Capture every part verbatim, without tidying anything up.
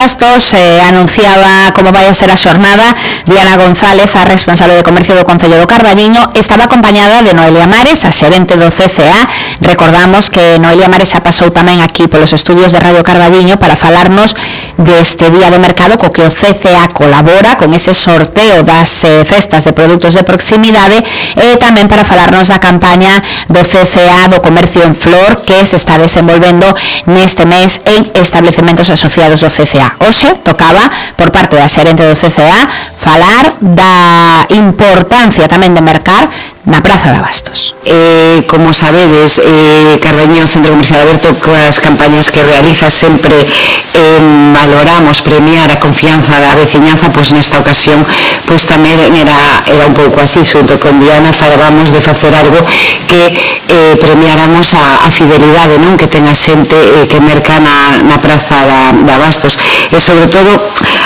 Bastos eh, anunciaba como vai a ser a xornada. Diana González, a responsable de comercio do Concello do Carballiño, estaba acompañada de Noelia Mares, a xerente do C C A. Recordamos que Noelia Mares xa pasou tamén aquí polos estudios de Radio Carballiño para falarnos deste día do mercado co que o C C A colabora con ese sorteo das eh, cestas de produtos de proximidade, e tamén para falarnos da campaña do C C A do comercio en flor que se está desenvolvendo neste mes en establecementos asociados do C C A. Hoxe tocaba, por parte da xerente do C C A, falar da importancia tamén de mercar na Praza de Abastos. Eh, como sabedes, eh, Carballiño Centro Comercial Aberto, coas campañas que realiza sempre eh, valoramos premiar a confianza da veciñanza, pois nesta ocasión pois tamén era, era un pouco así, xunto con Diana falábamos de facer algo que eh, premiáramos a, a fidelidade, non, que ten a xente eh, que merca na, na Praza da, de Abastos, e sobre todo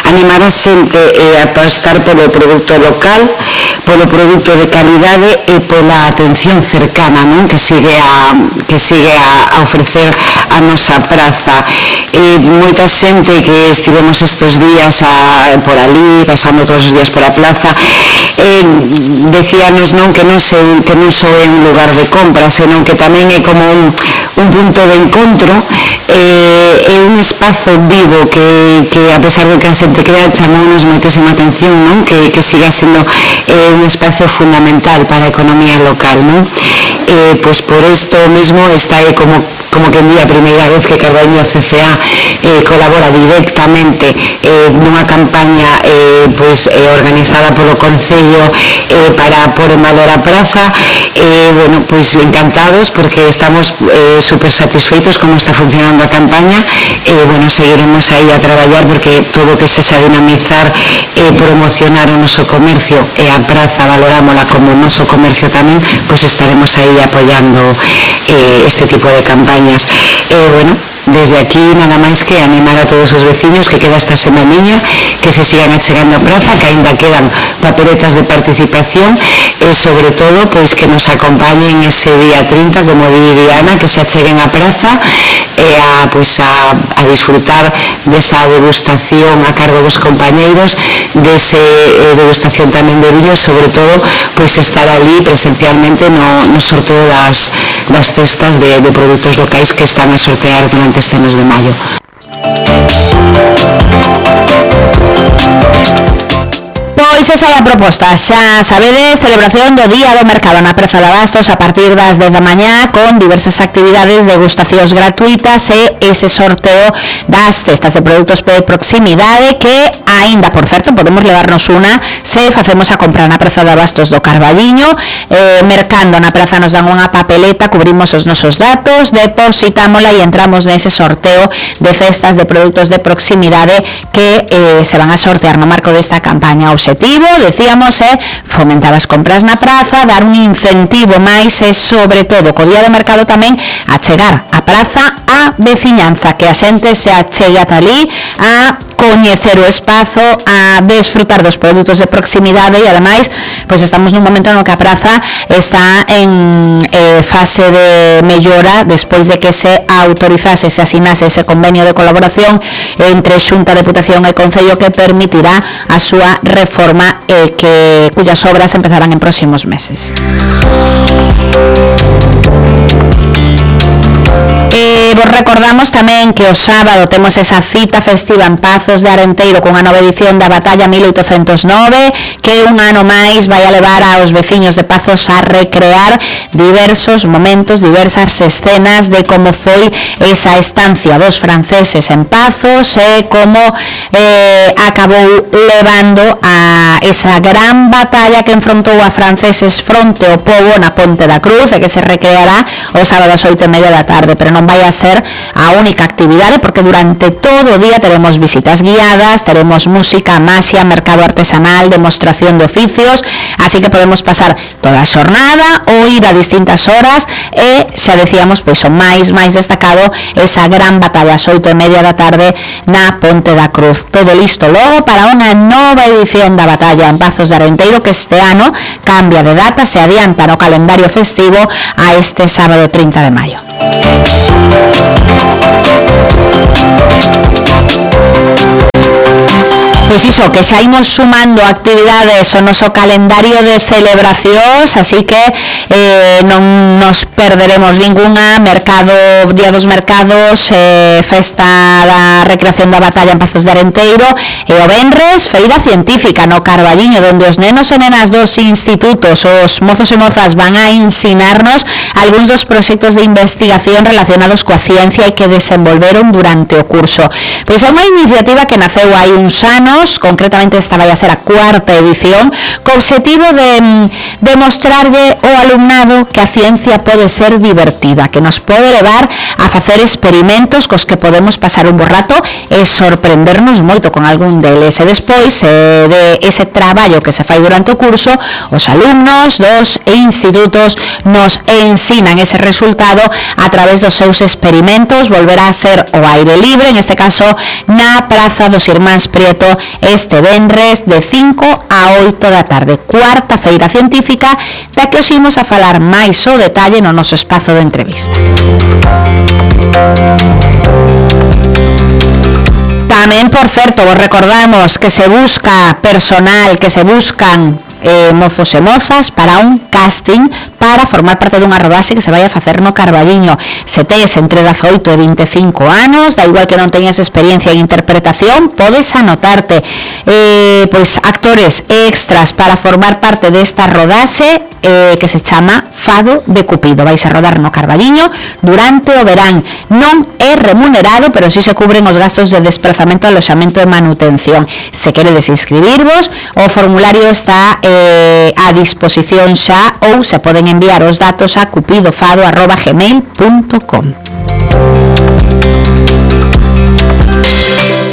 animar a xente eh, a apostar polo produto local, polo produto de calidade e pola atención cercana, non, que sigue a que sigue a, a ofrecer a nosa praza. E moita xente que estivemos estes días a, por ali, pasando todos os días por a plaza, eh, decíanos, non, que non se, que non só é un lugar de compra, senón que tamén é como un, un punto de encontro, eh, é un espazo vivo que, que a pesar de que a xente crea, chamounos moitísima atención, non, que, que siga sendo eh, un espazo fundamental para a economía local, non? Eh, pois por isto mesmo está aí como como que en día a primeira vez que Carballiño C C A eh, colabora directamente eh, nunha campaña eh, pois, eh, organizada polo Concello eh, para pôr en valor a praza. Eh, bueno, pois encantados porque estamos eh, super satisfeitos como está funcionando a campaña. Eh, bueno, seguiremos aí a traballar porque todo que se xa dinamizar e eh, promocionar o noso comercio e a praza valorámola como o noso comercio tamén, pois estaremos aí apoiando eh, este tipo de campañas. Eh, bueno, desde aquí nada máis que animar a todos os veciños que queda esta semaniña, que se sigan achegando a praza, que ainda quedan papeletas de participación, e sobre todo pois que nos acompañen ese día trinta, como di Diana, que se acheguen a praza e a, pois a, a disfrutar desa degustación a cargo dos compañeiros, dese eh, degustación tamén de viños, sobre todo pois estar ali presencialmente no, no sorteo das, das cestas de, de produtos locais que están a sortear durante este mes de maio. Pois esa é a proposta, xa sabedes, celebración do Día do Mercado na Praza de Abastos a partir das dez da mañá, con diversas actividades, degustacións gratuitas e ese sorteo das cestas de produtos de proximidade que aínda, por certo, podemos levarnos unha se facemos a compra na Praza de Abastos do Carballiño. Eh, mercando na praza nos dan unha papeleta, cubrimos os nosos datos, depositámola e entramos nese sorteo de cestas de produtos de proximidade que eh, se van a sortear no marco desta campaña. O objetivo, decíamos, é fomentar as compras na praza, dar un incentivo máis e, sobre todo, co día de mercado tamén, achegar a praza a veciñanza, que a xente se achegue ata ali a coñecer o espazo, a desfrutar dos produtos de proximidade e, ademais, pois estamos nun momento no que a praza está en eh, fase de mellora despois de que se autorizase, se asinase ese convenio de colaboración entre Xunta, Deputación e Concello que permitirá a súa reforma eh, que cuyas obras empezarán en próximos meses. E vos recordamos tamén que o sábado temos esa cita festiva en Pazos de Arenteiro cunha nova edición da Batalla mil oitocentos nove, que un ano máis vai a levar aos veciños de Pazos a recrear diversos momentos, diversas escenas de como foi esa estancia dos franceses en Pazos e como eh, acabou levando a esa gran batalla que enfrontou a franceses fronte ao pobo na Ponte da Cruz, e que se recreará o sábado ás oito e media da tarde, pero non vai a ser a única actividade, porque durante todo o día teremos visitas guiadas, teremos música, maxia, mercado artesanal, demostración de oficios, así que podemos pasar toda a xornada ou ir a distintas horas e, xa decíamos, pois o máis máis destacado, esa gran batalla ás oito e media da tarde na Ponte da Cruz. Todo listo logo para unha nova edición da batalla en Pazos de Arenteiro, que este ano cambia de data, se adianta no calendario festivo a este sábado trinta de maio. Pois iso, que xa imos sumando actividades ao noso calendario de celebracións, así que eh, non nos perderemos ningunha. Mercado, Día dos Mercados, eh, Festa da Recreación da Batalla en Pazos de Arenteiro, e o venres, Feira Científica no Carballiño, donde os nenos e nenas dos institutos, os mozos e mozas, van a ensinarnos algúns dos proxectos de investigación relacionados coa ciencia e que desenvolveron durante o curso. Pois é unha iniciativa que naceu hai uns anos, concretamente esta vai a ser a cuarta edición, co obxectivo de demostrarlle ao alumnado que a ciencia pode ser divertida, que nos pode levar a facer experimentos cos que podemos pasar un bo rato e sorprendernos moito con algún deles. E despois eh, de ese traballo que se fai durante o curso, os alumnos dos institutos nos ensinan ese resultado a través dos seus experimentos. Volverá a ser o aire libre, en este caso na Praza dos Irmáns Prieto, este venres de cinco a oito da tarde, cuarta Feira Científica, da que os imos a falar máis o detalle no noso espazo de entrevista. Tamén, por certo, vos recordamos que se busca personal, que se buscan eh, mozos e mozas para un casting para formar parte dunha rodaxe que se vai a facer no Carballiño. Se tes entre dezaoito e vinte e cinco anos, da igual que non teñas experiencia en interpretación, podes anotarte. Eh, pois actores extras para formar parte desta rodaxe eh, que se chama Fado de Cupido. Vais a rodar no Carballiño durante o verán. Non é remunerado, pero si se cubren os gastos de desplazamento, aloxamento e manutención. Se queredes inscribirvos, o formulario está eh, a disposición xa, ou se poden enviar os datos a cupidofado arroba gmail punto com.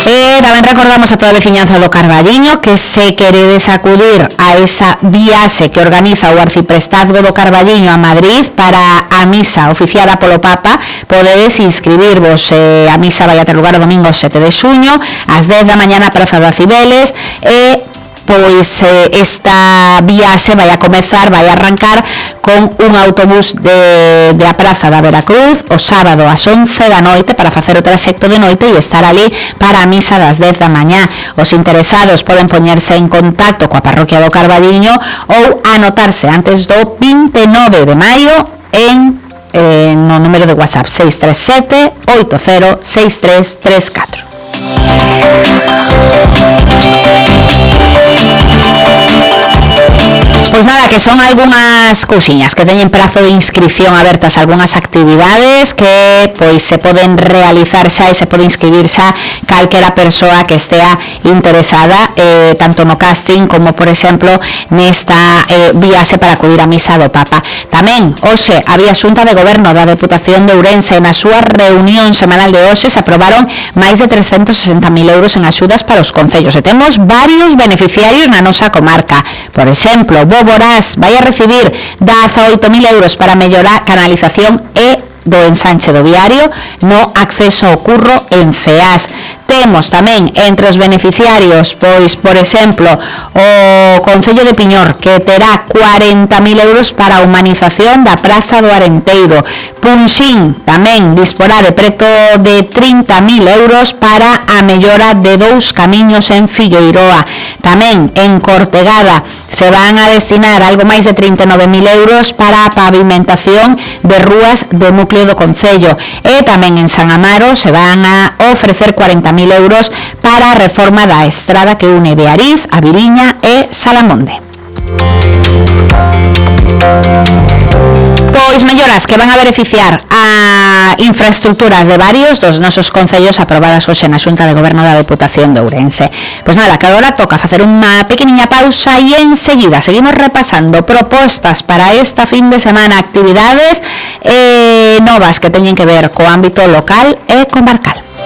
E tamén recordamos a toda a veciñanza do Carballiño que se queredes acudir a esa viaxe que organiza o Arciprestazgo do Carballiño a Madrid para a misa oficiada polo Papa, podedes inscribirvos. Eh, a misa vai a ter lugar o domingo sete de xuño ás dez da mañá na Praza das Cibeles, e pois eh, esta viaxe vai a comezar, vai a arrancar con un autobús de, de a Praza da Veracruz o sábado ás once da noite para facer o traxecto de noite e estar ali para a misa das dez da mañá. Os interesados poden poñerse en contacto coa parroquia do Carballiño ou anotarse antes do vinte e nove de maio en eh, no número de WhatsApp seis tres sete oito cero seis tres tres catro. Pois nada, que son algunhas cousiñas que teñen prazo de inscripción abertas, algunhas actividades que pois se poden realizar xa e se pode inscribir xa calquera persoa que estea interesada eh, tanto no casting como, por exemplo, nesta eh, viaxe para acudir á misa do Papa. Tamén, hoxe, había Xunta de Goberno da Deputación de Ourense. Na súa reunión semanal de hoxe se aprobaron máis de trescentos sesenta mil euros en axudas para os concellos e temos varios beneficiarios na nosa comarca. Por exemplo, Boborás vai a recibir dezaoito mil euros para mellorar canalización e do ensanche do viario no acceso ao curro en Feás. Temos tamén entre os beneficiarios, pois, por exemplo, o Concello de Piñor, que terá cuarenta mil euros para a humanización da Praza do Arenteiro. Punxín tamén disporá de preto de trinta mil euros para a mellora de dous camiños en Figueiroa. Tamén en Cortegada se van a destinar algo máis de trinta e nove mil euros para a pavimentación de rúas do núcleo do Concello. E tamén en San Amaro se van a ofrecer cuarenta mil euros para a reforma da estrada que une Beariz, a Viriña e Salamonde. Pois melloras que van a beneficiar a infraestructuras de varios dos nosos concellos aprobadas hoxe na Xunta de Goberno da Deputación de Ourense. Pois nada, que agora toca facer unha pequeniña pausa e enseguida seguimos repasando propostas para esta fin de semana, actividades eh, novas que teñen que ver co ámbito local e comarcal.